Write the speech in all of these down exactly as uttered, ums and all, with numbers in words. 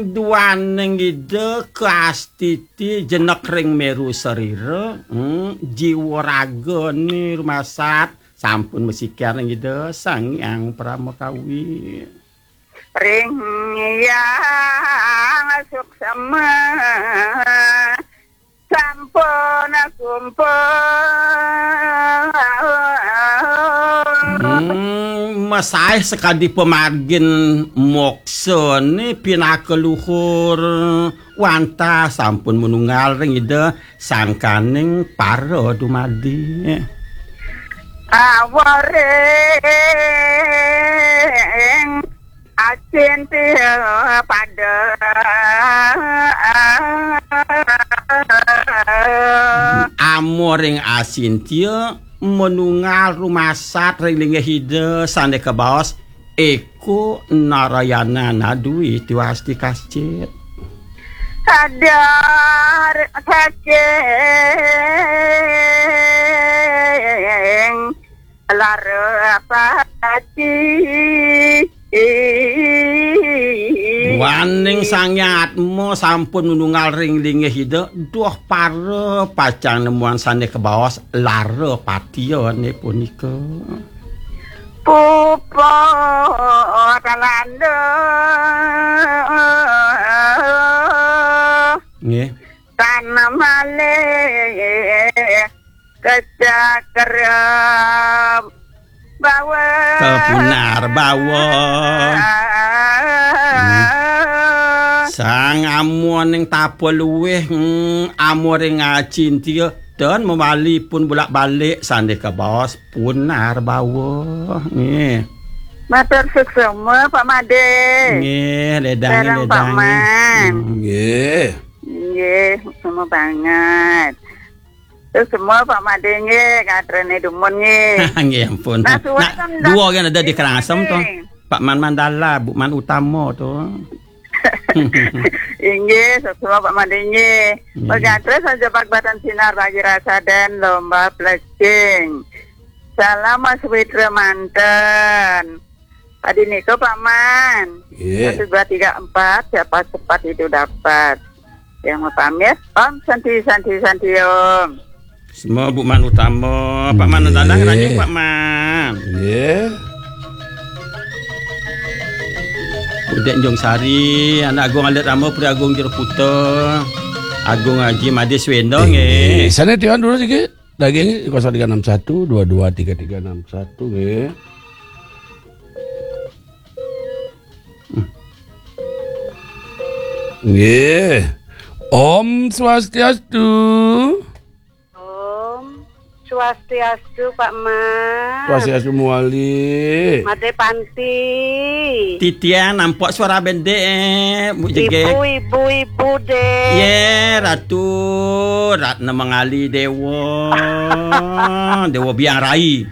Duaning Ida kaastiti jenek ring meru sarira, hmm, jiwa ragane rumasat sampun masikian ring Ida Sang Hyang Parama Kawi. Ring Hyang Suksema sampun kumpul. Hmm, masaih sakadi pamargin moksane pinaka luhur wantah sampun manunggal ring Ida sangkaning para dumadi. Awaring Acintya pada. Amoring Acintya manunggal rumasat ring linggih Ida sane kabaos eko Narayana nadui tiwasti kascit. Sadar sacing lara pati. Waning Sang Hyang Atma sampun nununggal ring linggih Ida, duh para pacang nemuan sane kabaos lara patiyane punika. Puput landa Nggih. Tan malih kecakra bawa. Kepunar bawa. Hmm. Sang amoning tapa luwih, hmm, amoring Acintya dan mawali pun bolak-balik sandika baos punar bawa. Nggih. Matur suksma, Pak Made. Nggih, ledang, Sareng Pak ledang. Man. Hmm. Nggih. Nggih, suksma banget. Terus semua Pak Made nggih, katrene dumun nggih. Nggih, ampun. Nah, suwun Nah, kan dua kan ada di Karangasem to. Pak Man Mandala, Bu Man Utama to. Inggih, suksma Pak Made nggih. Nggih. Pegatre saja Pak Batan Sinar bagi rasa dan lomba plecing. Salam Mas Witra manten. Tadi niku Pak Man. Nggih. Satu, dua, tiga, empat, siapa cepat itu dapat. Yang mau pamit, Om Santi, Santi, Santi, Om. Semua Bu Man Utama, Pak Man Nggih. Utama, ngeranjing Pak Man. Nggih. Udek Njong Sari, anak Agung Alit Rama, Puri Agung Jero Putra, Agung Haji Made Swendo, nggih. Sana tiwan dulu sikit. Daging kosong tiga enam satu dua dua tiga tiga enam satu, nggih. Nggih. Om Swastiastu. Om Swastiastu, Pak Man. Swastiastu Muali. Made Panti. Titian, nampok suara bendek, eh, Bu Jegek. Ibu, ibu, ibu, deh. Ye, Ratu Ratna Mangali Dewa. Dewa Biang Rai.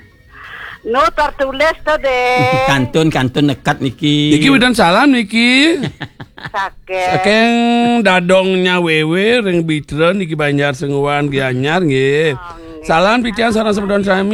No tertulis to, deh. Kantun, kantun nekat niki. Niki udan salam niki. Saking. Saking dadongnya Wewe ring Bitra niki Banjar Senguan Gianyar nggih. Oh, nggih. Salam titiang sareng semeton sami.